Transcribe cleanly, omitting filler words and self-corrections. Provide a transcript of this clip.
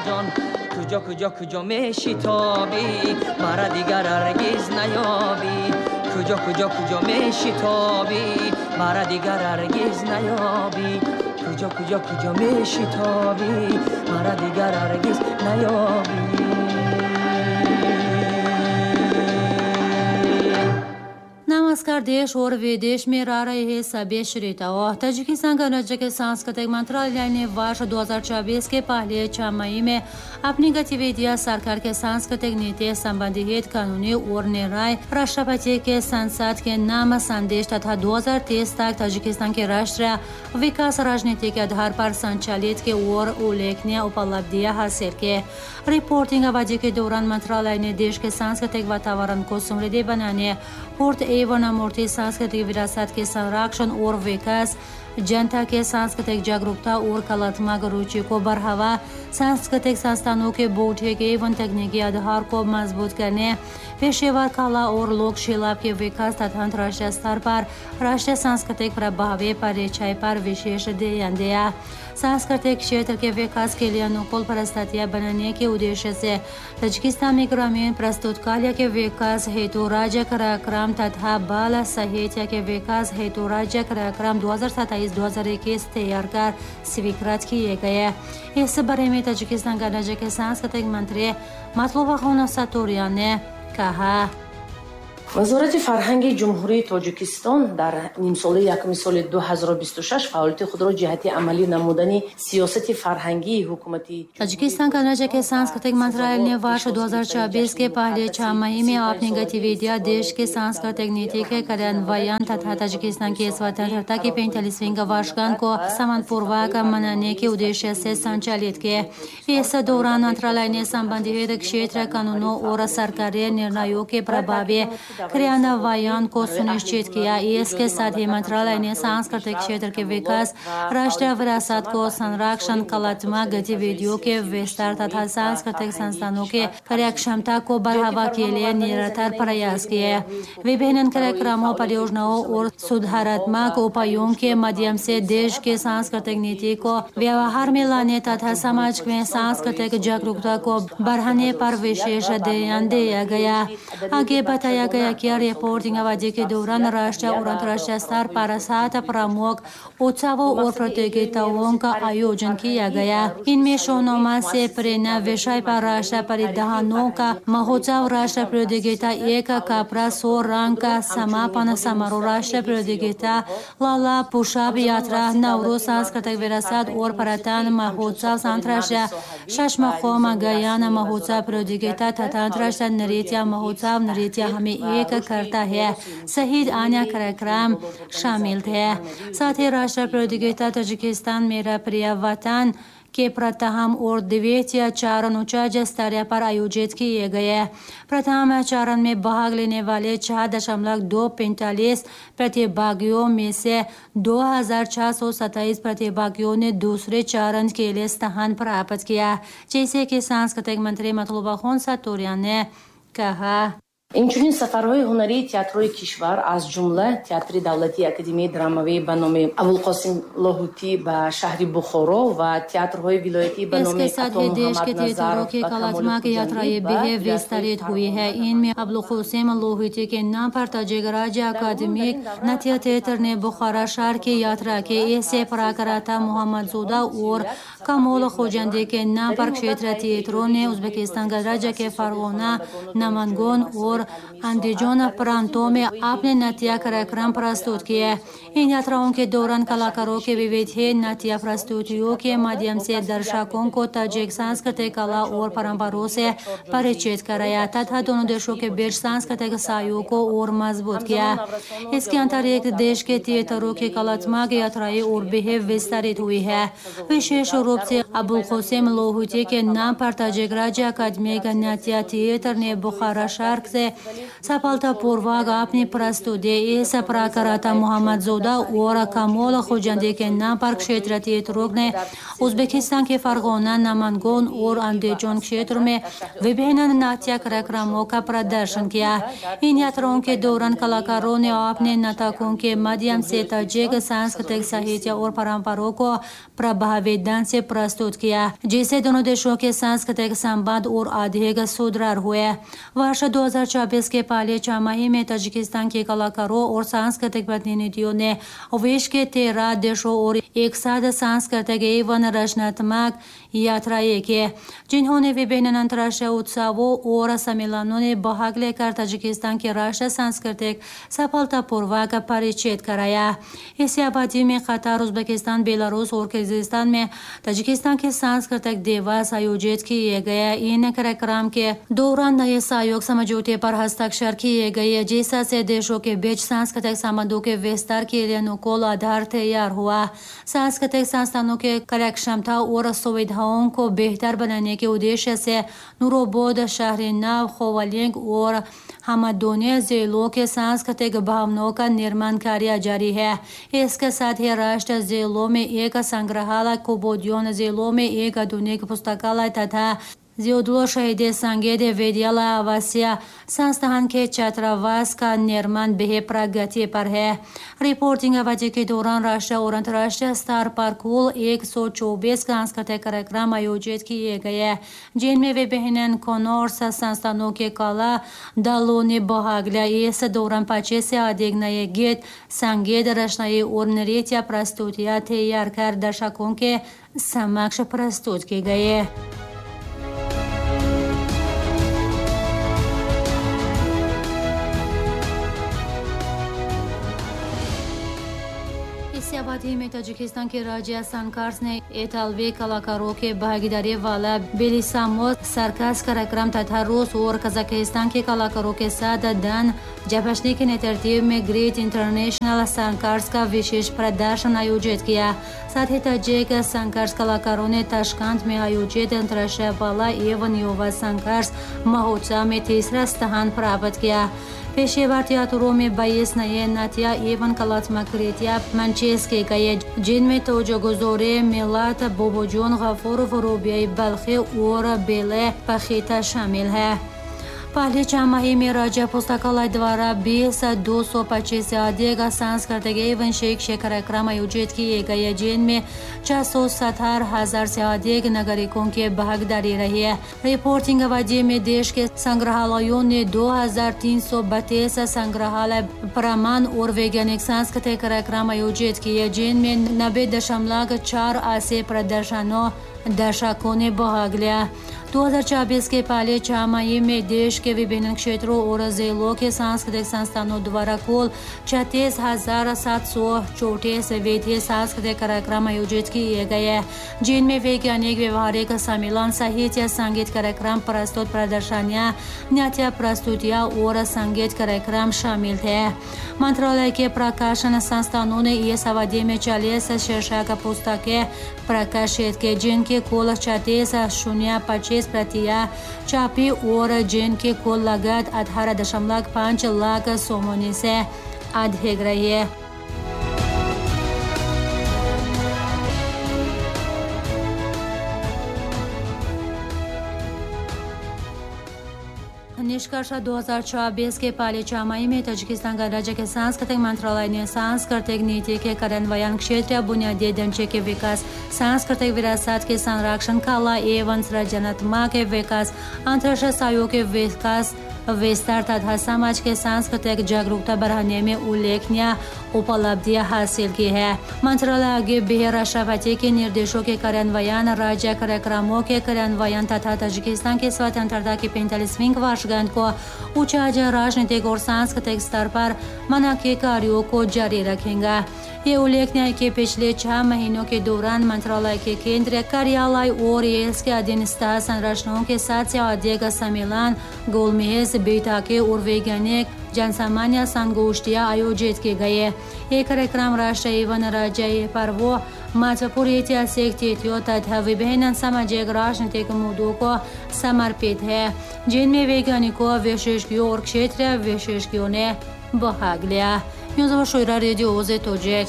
ҷон куҷо куҷо куҷо мешитобӣ мара дигар ҳаргиз наёбӣ куҷо куҷо куҷо мешитобӣ мара дигар ҳаргиз наёбӣ куҷо куҷо куҷо мешитобӣ мара дигар ҳаргиз наёбӣ. नमस्कार। देश और विदेश में रह रहे हैं सभी श्रोताओं। ताजिकिस्तान गणराज्य के सांस्कृतिक मंत्रालय ने वर्ष 2024 के पहले 6 महीने में अपनी गतिविधियां सरकार के सांस्कृतिक नीति संबंधित कानूनी और निर्णय राष्ट्रपति के संसद के नाम संदेश तथा 2030 तक ताजिकिस्तान के राष्ट्रीय विकास राजनीति के आधार पर संचालित के और उल्लेखनीय उपलब्धियां हासिल के। रिपोर्टिंग अवधि के दौरान मंत्रालय ने देश के सांस्कृतिक वातावरण को समृद्धि बनाने, पूर्त एवं अमूर्त सांस्कृतिक विरासत के संरक्षण और विकास, जनता के सांस्कृतिक जागरूकता और कलात्मक रुचि को बढ़ावा, सांस्कृतिक संस्थानों के बौद्धिक एवं तकनीकी आधार को मजबूत करने, पेशेवर कला और लोक शिल्प के विकास तथा अंतर्राष्ट्रीय स्तर पर राष्ट्रीय सांस्कृतिक प्रभावी परिचय पर विशेष ध्यान दिया। सांस्कृतिक क्षेत्र के विकास के लिए अनुकूल परिस्थितियां बनाने के उद्देश्य से ताजिकिस्तान में ग्रामीण प्रस्तुत कला के विकास हेतु राज्य कार्यक्रम तथा बाल साहित्य के विकास हेतु राज्य कार्यक्रम 2027-2021 तैयार कर स्वीकृत किए गए। इस बारे में ताजिकिस्तान गणराज्य के सांस्कृतिक मंत्री Matlubahon Sattorian ने कहा। Вазорати фарҳанги Ҷумҳурии Тоҷикистон дар нимсолаи якуми соли 2026 фаъолияти худро ҷиҳати амалӣ намудани сиёсати фарҳангии ҳукумати Таджикистан गणराज्य के सांस्कृतिक मंत्रालय ने वर्ष 2024 के पहले 6 महीने में अपनी गतिविधियां देश के सांस्कृतिक नीति के कार्यान्वयन तथा ताजिकिस्तान की स्वतंत्रता की 45वीं वर्षगांठ को सम्मानपूर्वक मनाने के उद्देश्य से संचालित किए। इस दौरान मंत्रालय ने संबंधित क्षेत्र कानूनों और सरकारी निर्णयों के प्रभावी क्रियान्वयन को सुनिश्चित किया। इसके साथ ही मंत्रालय ने सांस्कृतिक क्षेत्र के विकास, राष्ट्रीय विरासत को संरक्षण, कलात्मक गतिविधियों के विस्तार तथा सांस्कृतिक संस्थानों के कार्यक्षमता को बढ़ावा के लिए निरंतर प्रयास किए। विभिन्न कार्यक्रमों, परियोजनाओं और सुधारात्मक उपायों के माध्यम से देश के सांस्कृतिक नीति को व्यवहार में लाने तथा समाज में सांस्कृतिक जागरूकता को बढ़ाने पर विशेष ध्यान दिया गया। आगे बताया गया कि रिपोर्टिंग अवधि के दौरान राष्ट्रीय और अंतर्राष्ट्रीय स्तर पर 7 प्रमुख उत्सवों और प्रतियोगिताओं का आयोजन किया गया। इनमें सोनोमा से प्रेरणा विषय पर राष्ट्रीय परिधानों का महोत्सव, राष्ट्रीय प्रतियोगिता एक कपड़ा 100 रंग का समापन समारोह, राष्ट्रीय प्रतियोगिता लाला पुषाब यात्रा, नवरोज सांस्कृतिक विरासत और पर्यटन महोत्सव, अंतर्राष्ट्रीय शशमखोम गयाना महोत्सव प्रतियोगिता तथा अंतर्राष्ट्रीय नृत्य महोत्सव नृत्य हमें एक करता है सहित अन्य कार्यक्रम शामिल थे। साथ ही राष्ट्रीय प्रतियोगिता ताजिकिस्तान मेरा प्रिय वतन के प्रथम और द्वितीय चरण उच्च स्तर पर आयोजित किए गए। प्रथम चरण में भाग लेने वाले 4.245 प्रतिभागियों में से 2627 प्रतिभागियों ने दूसरे चरण के लिए स्थान प्राप्त किया, जैसे कि सांस्कृतिक मंत्री Matlubahon Sattorian ने कहा। Инчунин сафарҳои ҳунарии театрҳои кишвар, аз ҷумла Театри давлатии Академияи драмавӣ ба номи Абулқосим Лоҳутӣ ба шаҳри Бухоро ва театрҳои вилоятӣ ба номи इसके साथ ही देश के थिएटरों की कलात्मक यात्राएं भी विस्तारित हुई है। इनमें अबुलकासिम लोहुती के नाम पर ताजिक राज्य अकादमिक नृत्य थिएटर ने बुखारा शहर की यात्रा की। इससे पराकराता मोहम्मदज़ोदा और कमोल खोजंदी के नाम पर क्षेत्र थिएटरों ने उज्बेकिस्तान गणराज्य के फरगोना, नमनगोन और अंदिजोन प्रांतों में अपने नृत्य कार्यक्रम प्रस्तुत किए। इन यात्राओं के दौरान कलाकारों के विविध नृत्य प्रस्तुतियों के माध्यम से दर्शकों को ताजिक सांस्कृतिक कला और परंपराओं से परिचित कराया तथा दोनों देशों के बीच सांस्कृतिक सहयोग को और मजबूत किया। इसके अतिरिक्त देश के थिएटरों की कलात्मक यात्राएं और भी विस्तारित हुई है। विशेष रूप से अबुलकासिम लोहुती के नाम पर ताजिक राज्य अकादमिक नृत्य थिएटर ने बुखारा शहर से सफलतापूर्वक अपनी प्रस्तुति इस प्रकरता मोहम्मदज़ोदा और कमोल खोजंदी के नाम पर क्षेत्र थिएटरों ने उज्बेकिस्तान के फरगोना, नमनगोन और अंदिजोन क्षेत्र में विभिन्न नाट्य कार्यक्रमों का प्रदर्शन किया। इन यात्राओं के दौरान कलाकारों ने अपने नाटकों के माध्यम से ताजिक सांस्कृतिक साहित्य और परंपराओं को प्रभावी ढंग से से प्रस्तुत किया, जिससे दोनों देशों के सांस्कृतिक संबंध और अधिक सुदृढ़ हुए। वर्ष 2024 के पहले छमाही में ताजिकिस्तान के कलाकारों और सांस्कृतिक प्रतिनिधियों ने विश्व के 13 देशों और एक साथ सांस्कृतिक एवं रचनात्मक यात्राएं की, जिन्होंने विभिन्न अंतर्राष्ट्रीय उत्सवों और सम्मेलनों में भाग लेकर ताजिकिस्तान के राष्ट्रीय सांस्कृतिक सफलतापूर्वक परिचित कराया। इसी अवधि में Qatar, Uzbekistan, Belarus और किर्गिस्तान में ताजिकिस्तान के सांस्कृतिक दिवस आयोजित किए गए। इन कार्यक्रम के दौरान नए सहयोग समझौते पर हस्ताक्षर किए गए, जिससे देशों के बीच सांस्कृतिक संबंधों के विस्तार के लिए अनुकूल आधार तैयार हुआ। सांस्कृतिक संस्थानों के कार्यक्षमता और सुविधाओं को बेहतर बनाने के उद्देश्य से नूरोबोद, शहर-ए-नव, खोवालिंग और हमदोनी जिलों के सांस्कृतिक भवनों का निर्माण कार्य जारी है। इसके साथ ही राष्ट्र जिलों में एक संग्रहालय, कुबोदियोन जिलों में एक आधुनिक पुस्तकालय तथा जियोदलो शहीद संगीत विद्यालय आवासीय संस्थान के छात्रावास का निर्माण भी प्रगति पर है। रिपोर्टिंग अवधि के दौरान राष्ट्रीय और अंतर्राष्ट्रीय स्तर पर कुल 124 सांस्कृतिक कार्यक्रम आयोजित किए गए, जिनमें विभिन्न कॉनर्स संस्थानों के कला दलों ने भाग लिया। इस दौरान 25 से अधिक नए गीत, संगीत रचनाएं और नृत्य प्रस्तुतियाँ तैयार कर दर्शकों के समक्ष प्रस्तुत की गई। अवधि में ताजिकिस्तान के राज्य संकर्स ने इतालवी कलाकारों के भागीदारी वाला बेलिसामो सर्कस कार्यक्रम तथा रूस और कजाकिस्तान के कलाकारों के साथ दन जपशनी के नेतृत्व में great international circus का विशेष प्रदर्शन आयोजित किया। साथ ही ताजिक संकर्स कलाकारों ने ताशकंद में आयोजित अंतर्राष्ट्रीय बाला एवं युवा संकर्स महोत्सव में तीसरा स्थान प्राप्त किया। पेशेवर थिएटरों में 22 नए नाट्य एवं कलात्मक कृतियां मंचेस किए गए, जिनमें तोजगुजोरे, मिलात, बोबोजोन, गफूर, रूबियाई बल्खी और बेले पखीता शामिल है। पहले छमाही में राज्य पुस्तकालय द्वारा 20,225 से अधिक सांस्कृतिक एवं शैक्षिक कार्यक्रम आयोजित किए गए, जिनमें 670,000 से अधिक नागरिकों की भागीदारी रही है। रिपोर्टिंग अवधि में देश के संग्रहालयों ने 2,332 संग्रहालय प्रमाण और वैज्ञानिक सांस्कृतिक कार्यक्रम आयोजित किए, जिनमें 90.84 प्रदर्शनों दर्शकों ने भाग लिया। 2024 के पहले छमाही में देश के विभिन्न क्षेत्रों और जिलों के सांस्कृतिक संस्थानों द्वारा कुल 36,734 विधि सांस्कृतिक कार्यक्रम आयोजित किए गए, जिनमें वैज्ञानिक, व्यवहारिक सम्मेलन, साहित्य, संगीत कार्यक्रम, प्रस्तुत प्रदर्शनियाँ, नाट्य प्रस्तुतियाँ और संगीत कार्यक्रम शामिल थे। मंत्रालय के प्रकाशन संस्थानों ने इस अवधि में 40 शीर्षक पुस्तकें प्रकाशित की, जिनकी कुल 36,025 प्रतियां छापी और जिनकी कुल लागत 18.5 लाख सोमोनी से अधिक रही है। निष्कर्ष 2024 के पहले छमाही में ताजिकिस्तान गणराज्य के सांस्कृतिक मंत्रालय ने सांस्कृतिक नीति के कार्यान्वयन, क्षेत्रीय बुनियादी ढांचे के विकास, सांस्कृतिक विरासत के संरक्षण, कला एवं सृजनात्मक विकास, अंतर्राष्ट्रीय सहयोग के विकास विस्तार तथा समाज के सांस्कृतिक जागरूकता बढ़ाने में उल्लेखनीय उपलब्धियां हासिल की है। मंत्रालय आगे भी राष्ट्रपति के निर्देशों के कार्यान्वयन, राज्य कार्यक्रमों के कार्यान्वयन तथा ताजिकिस्तान की स्वतंत्रता की 45वीं वर्षगांठ को उच्च राजनीतिक और सांस्कृतिक स्तर पर मना के कार्यों को जारी रखेगा। ये उल्लेखनीय है कि पिछले 6 महीनों के दौरान मंत्रालय के केंद्रीय कार्यालय और इसके अधीनस्थ संरचनाओं के साथ से अधिक सम्मेलन, गोलमेज बैठकें और वैज्ञानिक जनसामान्य संगोष्ठियाँ आयोजित की गई। ये कार्यक्रम राष्ट्र एवं राज्य पर्वों, महत्वपूर्ण ऐतिहासिक तिथियों तथा विभिन्न सामाजिक राजनीतिक मुद्दों को समर्पित है, जिनमें वैज्ञानिकों, विशेषज्ञों और क्षेत्रीय विशेषज्ञों ने भाग लिया। न्यूज़ रेडियो तोजिक।